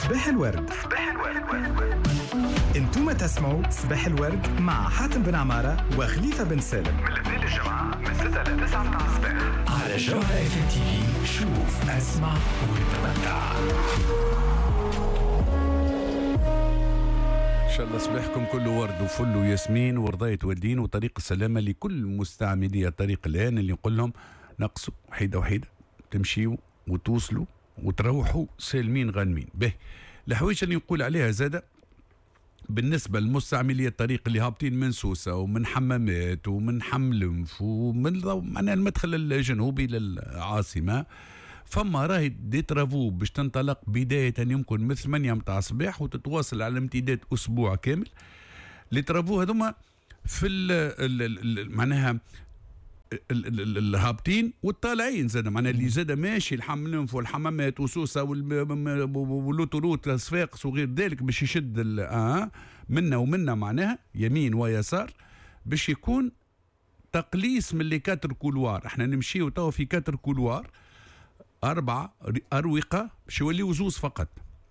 صباح الورد. صباح الورد. انتم تسمعوا صباح الورد مع حاتم بن عمارة وخليفة بن سالم من الاثنين للجمعة من 6 ل 9 متاع الصباح على جوهرة اف ام تي في. شوف، اسمع وتمتع. ان شاء الله صباحكم كله ورد وفل وياسمين ورضاية والدين وطريق السلامة لكل مستعملي الطريق الآن، اللي نقول لهم نقصوا وحيدة وحيدة، تمشيوا وتوصلوا وتروحوا سالمين غانمين. به الحوايج اللي نقول عليها زادة بالنسبة لمستعملي الطريق اللي هابطين من سوسة ومن حمامات ومن حملنف ومن معناها المدخل الجنوبي للعاصمة، فما راهي des travaux باش تنطلق بداية يمكن من 8 متاع الصباح وتتواصل على امتداد أسبوع كامل. les travaux هذوما في ال معناها الهابطين والطالعين زاد، معناها اللي زاد ماشي الحملنف والحمامات وسوسه وال autoroute صفاقس وغير ذلك باش يشد منا ومنا، معناها يمين ويسار، باش يكون تقليص من les quatre couloirs. احنا نمشيو توا في quatre couloirs، 4 أروقة باش يوليو زوز فقط،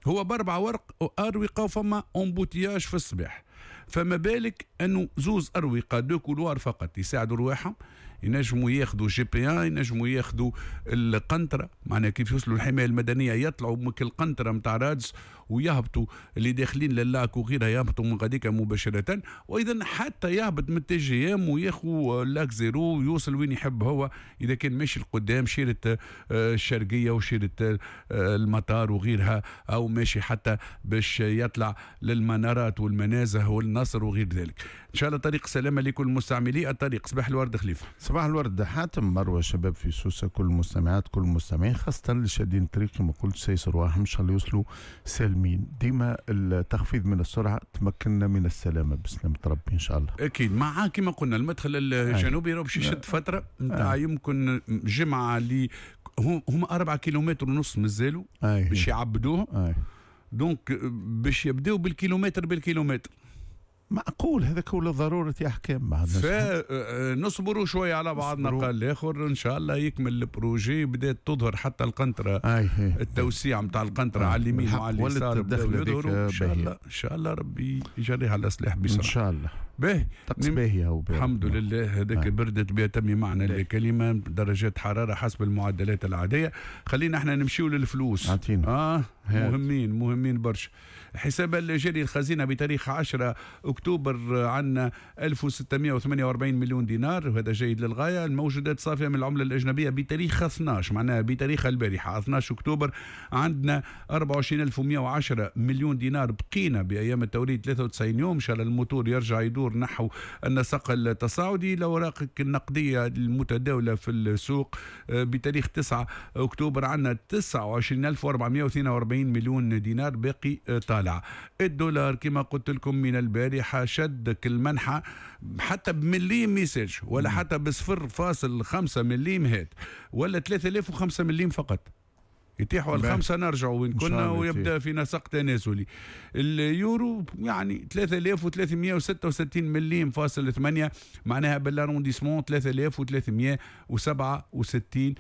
هو بأربع ورق أروقة وفما embouteillage في الصباح، فما بالك أنه زوز أروقة deux couloirs فقط يساعدوا رواحهم، ينجموا ياخذوا GP 1، ينجموا ياخذوا القنطرة، معناها كيف يوصلوا الحماية المدنية يطلعوا من القنطرة نتاع رادس ويهبطوا اللي داخلين لل lac وغيرها، يهبطوا من غاديك مباشرة، وأيضا حتى يهبط من ال TGM وياخذوا lac zéro ويوصل وين يحب هو، إذا كان ماشي لقدام شيرة الشرقية وشيرة المطار وغيرها، أو ماشي حتى باش يطلع للمنارات والمنازه والنصر وغير ذلك. إن شاء الله طريق سلامة لكل مستعملي الطريق. صباح الورد خليفة. صباح الورد حاتم، مروة، شباب في سوسة، كل المستمعات كل المستمعين، خاصة اللي شادين الطريق كما قلت سيسر رواحهم إن شاء الله يوصلوا سالمين. ديما التخفيض من السرعة تمكننا من السلامة بسلامة ربي إن شاء الله. أكيد مع كما قلنا المدخل الجنوبي راه باش يشد فترة نتاع يمكن جمعة اللي هم 4.5 كيلومتر مازالوا باش يعبدوه، donc باش يبداو بالكيلومتر بالكيلومتر. معقول هذاك ولا ضرورة أحكام؟ فنصبروا شوية على بعضنا قال الآخر إن شاء الله يكمل ال projet. بدأت تظهر حتى القنطرة، التوسيع نتاع القنطرة على اليمين وعلى اليسار بدأوا يظهروا. إن شاء الله إن شاء الله ربي يجريها على سلاح بسرعة إن شاء الله. باهي طقس باهي هو، الحمد لله. هذاك بردت بأتم معنى الكلمة، درجات حرارة حسب المعدلات العادية. خلينا احنا نمشيو للفلوس. عطينا. مهمين مهمين برشا. حساب الجاري الخزينة بتاريخ 10 أكتوبر عندنا 1648 مليون دينار، وهذا جيد للغاية. الموجودات صافية من العملة الأجنبية بتاريخ 12، معناها بتاريخ البارحة 12 أكتوبر، عندنا 24110 مليون دينار. بقينا بأيام التوريد 93 يوم، إن شاء الله الموتور يرجع يدور نحو النسق التصاعدي. الأوراق النقدية المتداولة في السوق بتاريخ 9 أكتوبر عندنا 29442 مليون دينار باقي طالع. الدولار كما قلت لكم من البارحة شدك المنحة حتى بمليم ميساج ولا حتى ب0.5 مليم هات ولا 3005 مليم فقط، يتيحوا الخمسة نرجعوا وين كنا ويبدأ في نسق تنازلي. اليورو يعني 3366 مليم فاصل 8، معناها بال arrondissement 3367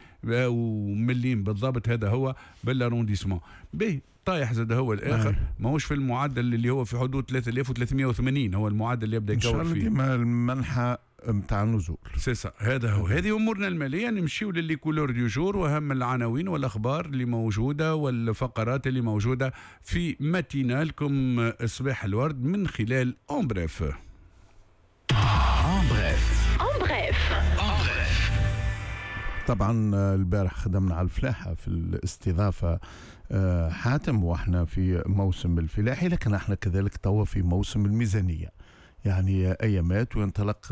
مليم بالضبط، هذا هو بال arrondissement. به طايح زاد هو الآخر، ماهوش في المعدل اللي هو في حدود 3380، هو المعدل اللي يبدأ يكور فيه. ديما المنحة نتاع النزول c'est ça. هذا هو، هذه امورنا المالية. نمشيو ل les couleurs du jour واهم العناوين والاخبار اللي موجودة والفقرات اللي موجودة في matinale كم صباح الورد من خلال en bref. en bref en bref. طبعا البارح خدمنا على الفلاحة في الاستضافة حاتم، واحنا في موسم الفلاحي، لكن احنا كذلك توا في موسم الميزانية، يعني ايامات وينطلق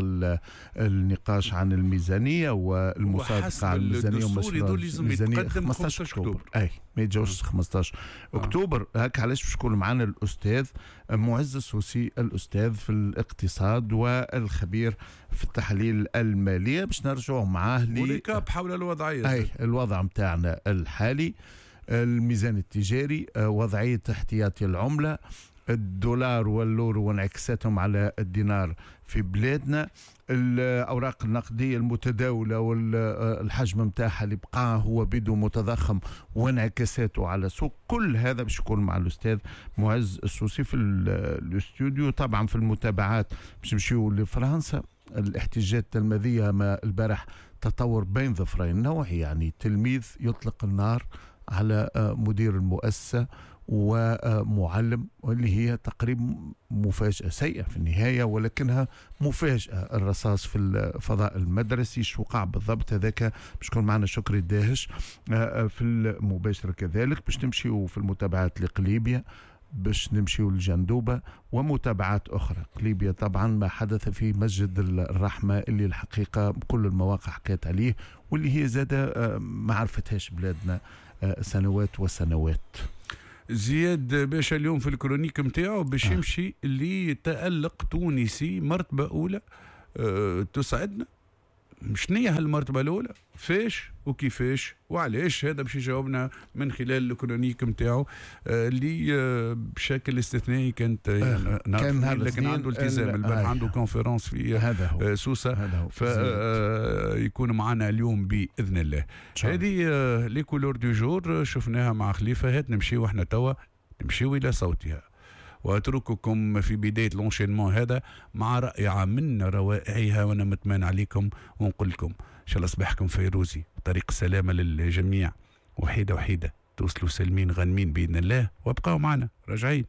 النقاش عن الميزانية والمصادقه على الميزانية ومشروع الميزانية 15 اكتوبر. اي ما يتجاوزش 15 اكتوبر. هاك علاش باش يكون معنا الاستاذ معز السوسي، الاستاذ في الاقتصاد والخبير في التحاليل المالية، باش نرجعوا معاه و récap حول الوضعية، اي الوضع نتاعنا الحالي، الميزان التجاري، وضعية احتياطي العملة، الدولار واليورو وانعكاساتهم على الدينار في بلادنا، الاوراق النقدية المتداولة والحجم نتاعها اللي بقى هو بيدو متضخم وانعكاساته على السوق. كل هذا باش يكون مع الاستاذ معز السوسي في الاستوديو. طبعا في المتابعات باش نمشيو لفرنسا، الاحتجاجات التلميذيه ما البارح تطور بين ظفرين نوعي، يعني تلميذ يطلق النار على مدير المؤسسة ومعلم، واللي هي تقريبا مفاجأة سيئة في النهاية ولكنها مفاجأة، الرصاص في الفضاء المدرسي. شو وقع بالضبط هذاك باش يكون معنا شكري الداهش في المباشرة. كذلك باش نمشيو في المتابعات لقليبيا، باش نمشيو لجندوبة ومتابعات أخرى. قليبيا طبعا ما حدث في مسجد الرحمة اللي الحقيقة كل المواقع حكيت عليه، واللي هي زادة ما عرفتهاش بلادنا سنوات وسنوات. زياد باشا اليوم في ال chronique نتاعو باش يمشي لتألق تونسي مرتبة أولى تسعدنا. شنية هالمرتبة الأولى؟ فاش وكيفاش وعلاش؟ هذا باش يجاوبنا من خلال ال chronique نتاعو اللي بشكل استثنائي كانت كان لكن عنده التزام البارح، عنده conférence في هذا هو. سوسة، هذا هو. فيكون معنا اليوم بإذن الله. هذه les couleurs du jour شفناها مع خليفة. هات نمشيو احنا توا، نمشيو إلى صوتها، وأترككم في بداية l'enchaînement هذا مع رائعة من روائعها، وأنا متمان عليكم ونقول لكم إن شاء الله صباحكم فيروزي، طريق السلامة للجميع، وحيدة وحيدة توصلوا سالمين غانمين بإذن الله، وابقوا معنا راجعين.